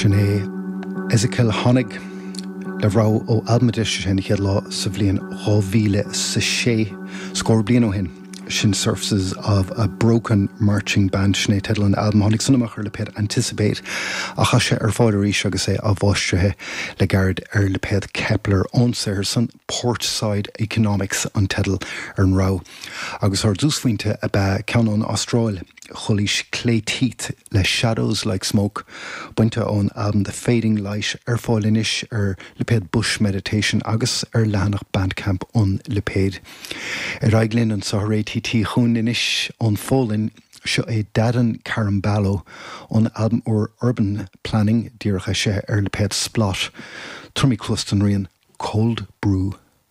Sin é Ezequiel Honig le rogha ó albam a d'eisigh sé an chéad lá sa bhliain 2006, scór bliain ó shin. Sin Surfaces of a Broken Marching Band, sin é teideal an albaim. Tháinig san amach ar lipéad Anticipate ach tá sé ar fáil arís agus é athmháistrithe le gairid ar lipéad Kepler ón saothar san. Portside Economics an teideal ar an rogha agus ár dtúsphointe ab ea ceann ón Astráil, Chulaois Clay Teeth le Shadows Like Smoke, bainte ón albam The Fading Light, ar fáil anois ar lipéad Bush Meditation agus ar leathanach Bandcamp an lipéid. Ar aghaidh linn anseo ar ATT chugainn anois ón Pholainn, seo é Dadon Carambalo ón albam úr Urban Planning, díreach eisithe ar lipéad Splott. Tabharfaimid cluas don rian. Cold Brew.